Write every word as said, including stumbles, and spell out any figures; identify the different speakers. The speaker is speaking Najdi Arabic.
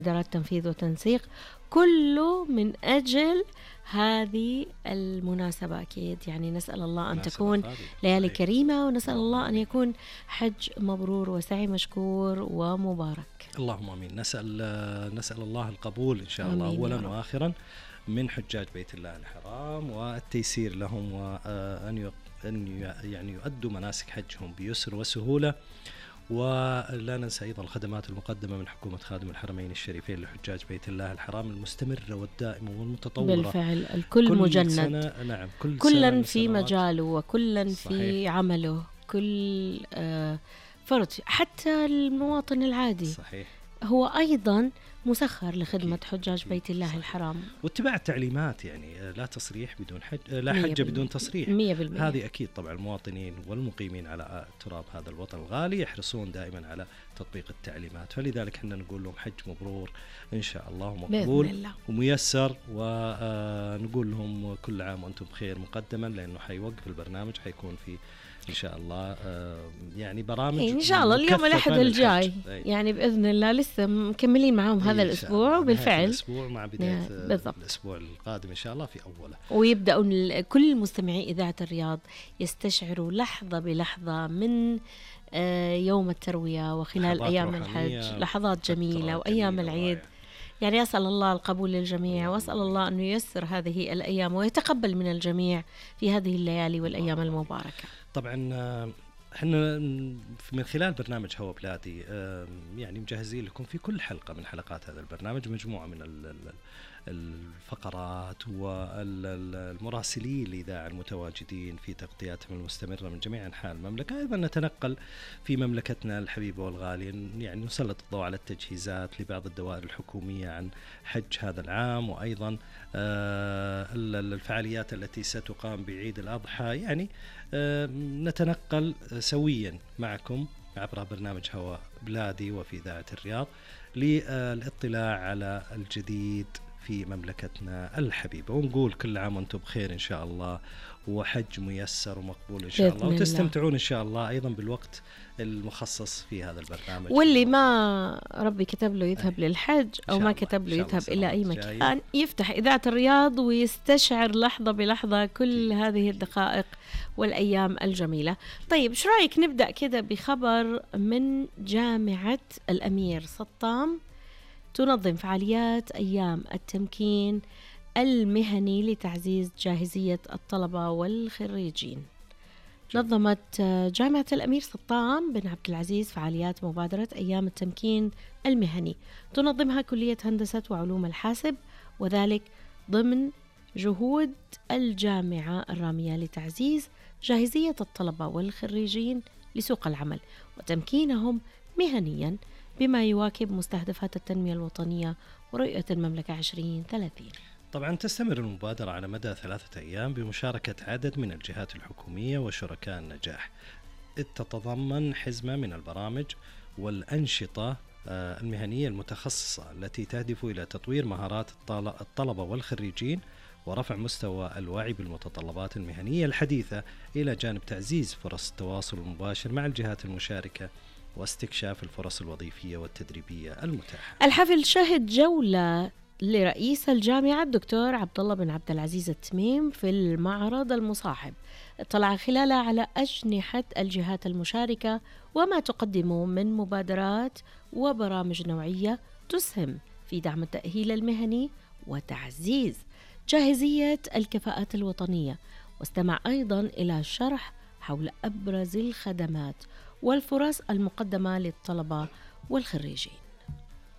Speaker 1: إدارات تنفيذ وتنسيق، كله من أجل هذه المناسبة. أكيد يعني نسأل الله أن تكون ليالي كريمة، ونسأل الله أن يكون حج مبرور وسعي مشكور ومبارك.
Speaker 2: اللهم آمين. نسأل نسأل الله القبول إن شاء الله أولا وآخرا من حجاج بيت الله الحرام، والتيسير لهم، وأن أن يعني يؤدوا مناسك حجهم بيسر وسهولة. ولا ننسى أيضا الخدمات المقدمة من حكومة خادم الحرمين الشريفين لحجاج بيت الله الحرام المستمرة والدائمة والمتطورة.
Speaker 1: بالفعل الكل كل مجند
Speaker 2: سنة نعم كل
Speaker 1: كلا في مجاله وكلا في عمله، كل آه فرد، حتى المواطن العادي صحيح هو أيضا مسخر لخدمة أكيد. حجاج بيت الله صحيح. الحرام واتباع
Speaker 2: التعليمات، يعني لا تصريح بدون حج، لا حج بدون تصريح.
Speaker 1: مية بالمية.
Speaker 2: هذه أكيد طبعا المواطنين والمقيمين على تراب هذا الوطن الغالي يحرصون دائما على تطبيق التعليمات، فلذلك احنا نقول لهم حج مبرور إن شاء الله مقبول وميسر، ونقول لهم كل عام وأنتم بخير مقدما، لأنه حيوقف البرنامج حيكون في إن شاء الله يعني برامج
Speaker 1: إن شاء الله اليوم الأحد الجاي يعني بإذن الله لسه مكملين معهم هذا الأسبوع، وبالفعل
Speaker 2: الأسبوع مع بداية بالضبط. الأسبوع القادم إن شاء الله في أوله،
Speaker 1: ويبدأوا كل مستمعي إذاعة الرياض يستشعروا لحظة بلحظة من يوم التروية وخلال أيام الحج لحظات جميلة وأيام العيد. يعني أسأل الله القبول للجميع، وأسأل الله أن ييسر هذه الأيام ويتقبل من الجميع في هذه الليالي والأيام المباركة.
Speaker 2: طبعا احنا من خلال برنامج هوا بلادي يعني مجهزين لكم في كل حلقة من حلقات هذا البرنامج مجموعة من الفقرات والمراسلين الإذاعة المتواجدين في تغطياتهم المستمرة من جميع أنحاء المملكة. أيضا نتنقل في مملكتنا الحبيبة والغالية، يعني نسلط الضوء على التجهيزات لبعض الدوائر الحكومية عن حج هذا العام، وأيضا الفعاليات التي ستقام بعيد الأضحى. يعني نتنقل سويا معكم عبر برنامج هوا بلادي وفي إذاعة الرياض للاطلاع على الجديد في مملكتنا الحبيبة، ونقول كل عام وانتم بخير إن شاء الله، وحج ميسر ومقبول إن شاء الله، وتستمتعون إن شاء الله أيضا بالوقت المخصص في هذا البرنامج.
Speaker 1: واللي ما ربي كتب له يذهب أي. للحج أو ما كتب له يذهب إلى أي مكان جاي. يفتح إذاعة الرياض ويستشعر لحظة بلحظة كل هذه الدقائق والأيام الجميلة. طيب شو رأيك نبدأ كده بخبر من جامعة الأمير سطام تنظم فعاليات أيام التمكين المهني لتعزيز جاهزية الطلبة والخريجين. نظمت جامعة الأمير سطام بن عبد العزيز فعاليات مبادرة أيام التمكين المهني تنظمها كلية هندسة وعلوم الحاسب، وذلك ضمن جهود الجامعة الرامية لتعزيز جاهزية الطلبة والخريجين لسوق العمل وتمكينهم مهنياً بما يواكب مستهدفات التنمية الوطنية ورؤية المملكة عشرين ثلاثين.
Speaker 2: طبعا تستمر المبادرة على مدى ثلاثة أيام بمشاركة عدد من الجهات الحكومية وشركاء النجاح، إذ تتضمن حزمة من البرامج والأنشطة المهنية المتخصصة التي تهدف إلى تطوير مهارات الطلبة والخريجين ورفع مستوى الوعي بالمتطلبات المهنية الحديثة، إلى جانب تعزيز فرص التواصل المباشر مع الجهات المشاركة واستكشاف الفرص الوظيفية والتدريبية المتاحة.
Speaker 1: الحفل شهد جولة لرئيس الجامعة الدكتور عبد الله بن عبد العزيز التميم في المعرض المصاحب، اطلع خلاله على أجنحة الجهات المشاركة وما تقدمه من مبادرات وبرامج نوعية تسهم في دعم التأهيل المهني وتعزيز جاهزية الكفاءات الوطنية، واستمع أيضا إلى شرح حول أبرز الخدمات والفرص المقدمة للطلبة والخريجين.